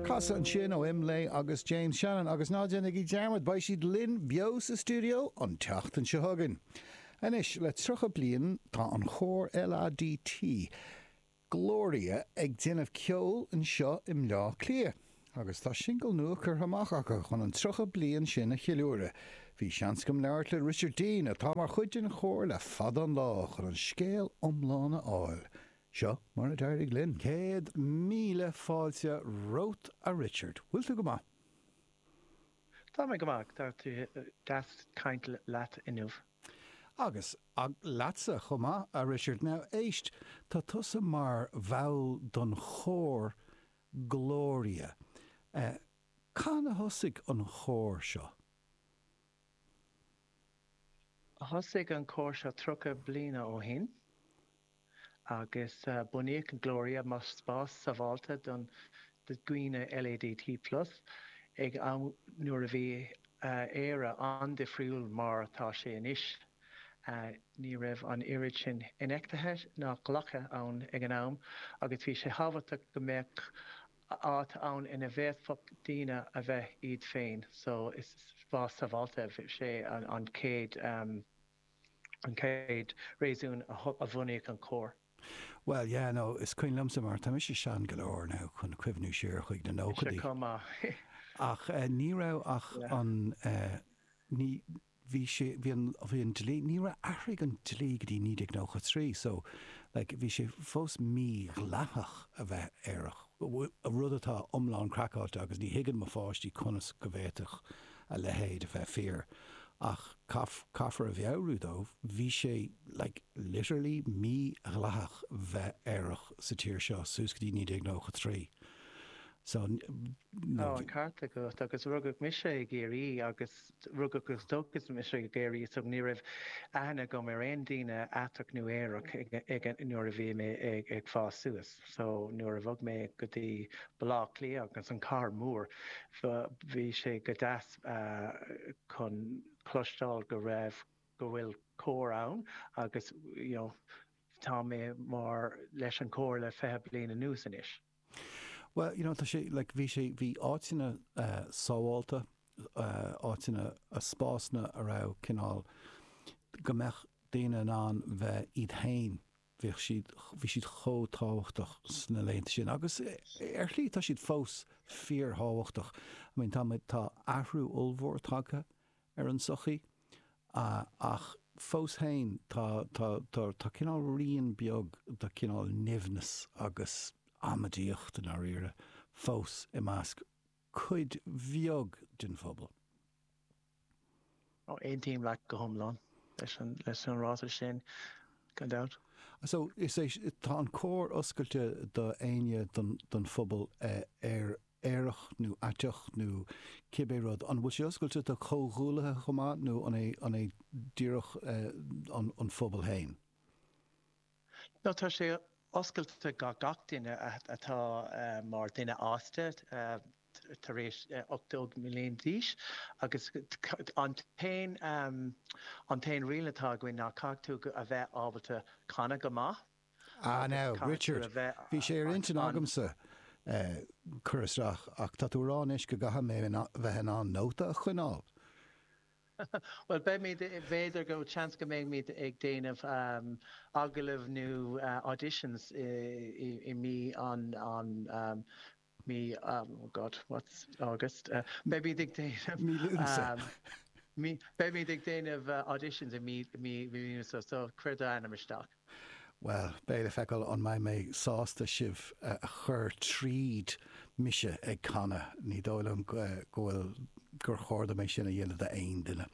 Casadh ansin ó Imlé agus James Shannon agus ná déanaigí dearmad, beidh siad linn beo sa stiúideo an tseachtain seo chugainn. Anois, le 30 bliain tá an chór LADT, Gloria, ag déanamh ceoil anseo i mBleá Cliath agus tá singil nua curtha amach acu chun an 30 bliain sin a cheiliúradh. Bhí seans agam labhairt le Richard Deane, atá mar chuid den chór le fada an lá, chun an scéal iomlán a fháil. Seo mar a d'éirigh linn. 100,000 fáilte romhat a Richard. Bhfuil tú go maith? Tá mé go maith. Tá sé deas caint leat inniu. Agus leatsa chomh maith, a Richard. Now, éist, tá tusa mar bhall don chór Gloria. Cathain a thosaigh an chór seo? Thosaigh an cór seo 30 bliana ó shin agus bunaíodh an Gloria mar spás sábháilte don dhaoine LADT plus ag am nuair a bhí Éire an-difriúil mar atá sé anois. Ní raibh an oiread sin infheictheachta ná glactha ann ag an am agus bhí sé thábhachtach go mbeadh áit ann ina bhféadfadh daoine a bheith iad féin so is spás sábháilte sé an chéad an chéad réasún a bhunaíodh an cór. Bhuel yeah no is cuimhin liomsa mar tá mise sean go leor now chun cuimhniú siar chuig na nóchaidí. Mise chomh maith. Ach ní raibh ach an ní bhí sé, bhí an, bhí an dlí, ní raibh, athraigh an dlí go dtí 1993 so like bhí sé fós mídhleathach a bheith aerach, rud atá iomlán craiceáilte agus ní thuigeann mo pháistí conas go bhféadfadh a leithéid a bheith fíor ach caith, caithfear a mheabhrú dóibh, bhí sé like literally mídhleathach bheith aerach sa tír seo suas go dtí 1993 so no. Tá an ceart agat agus rugadh mise i gCiarraí agus Rugadh agus tógadh mise i gCiarraí so ní raibh aithne agam ar aon daoine aiteach nó aerach ag nuair a bhí mé ag fás suas. So nuair a bhog mé go dtí Baile Átha Cliath agus an cathair mór bhí sé go deas chun cloisteáil go raibh go bhfuil cór ann agus you know tá mé mar leis an cór le 20 bliain anuas anois. Bhuel, you know, tá sé, like, bhí sé, bhí áiteanna sábhálta, áiteanna, spásanna a raibh cineál, go mbeadh daoine in ann bheith iad féin, bhíodh siad, bhí siad chomh tábhachtach sna laethanta sin agus ar shlí tá siad fós fíorthábhachtach. I mean, tá muid, tá athrú ollmhór tagtha ar an tsochaí ach fós féin tá, tá, tá, tá cineál rian beag de chineál nimhneas agus amaidíocht i ndáiríre fós i measc cuid bheag den phobal. Aontaím leat go hiomlán leis an, leis an ráiteas sin, gan dabht. So, is é, tá an cór oscailte do éinne don, don phobal ar aerach nó aiteach nó cibé rud, an bhfuil sé oscailte do chomhghuaillithe chomh maith nó an é an é díreach an an phobal féin? No, tá sé oscailte do gach duine atá mar duine fhásta tar éis 18 mbliain d'aois agus an t-aon an t-aon riail atá againn ná caithfidh tú a bheith ábalta canadh go maith. Ah now, Richard, bhí sé ar intinn agamsa cur isteach ach tá tú a rá anois go gcaithfidh mé bheith in ann nóta a choinneáil. Bhuel, beimid, b'fhéidir go, seans go mbeimid ag déanamh agallamh nó auditions i mí an, an, mí, oh God, what's August? Beimid ag déanamh. Mí Lúnasa. Mí, beimid ag déanamh auditions i mí, mí, mí Lúnasa, so cuir d'ainm isteach. Bhuel, beidh le feiceáil an mbeidh mé sásta sibh a chur tríd mise ag canadh. Ní dóigh liom go bhfuil, gur chóir dom é sin a dhéanamh d'aon duine.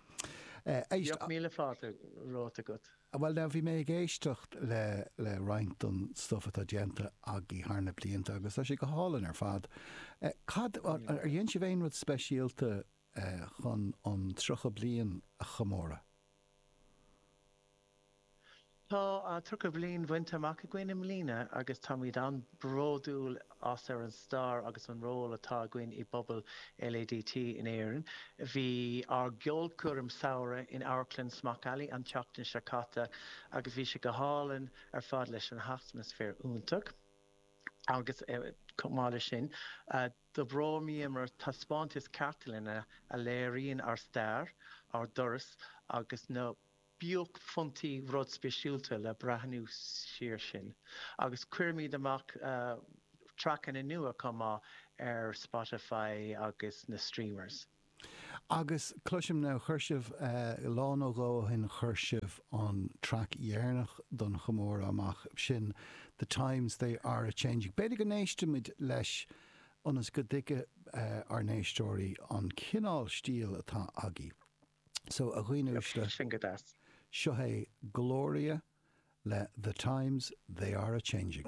Éist. Bíodh míle fáilte romhat agat. Bhuel now, bhí mé ag éisteacht le le roinnt don stuff atá déanta agaibh thar na blianta agus tá sé go hálainn ar fad. Cad, ar dhein sibh aon rud speisialta chun an 30 bliain a chomóradh? Tá 30 bliain bainte amach againn i mbliana agus táimid an-bhródúil as ar an stair agus an ról atá againn i bpobal LADT in Éirinn. Bhí ár gceolchoirm samhraidh in Amharclann Smock Alley an tseachtain seo caite agus bhí sé go hálainn ar fad leis an atmaisféar iontach. Agus chomh maith leis sin, d'oibríomar taispeántas cartlainne a léiríonn ár stair, ár dturas agus na buaicphointí rud speisialta le breathnú siar sin. Agus cuirimid amach traiceanna nua chomh maith ar Spotify agus na streamers. Agus cloisim now, chuir sibh, lá nó dhó ó shin, chuir sibh an traic dheireanach don chomóradh amach, sin The Times They Are A Changing. B'fhéidir go n-éistfimid leis ionas go dtuigfidh ár n-éisteoirí an cineál stíl atá agaibh. So, a dhaoine uaisle, Sin go deas. seo é Gloria le The Times They Are A Changing.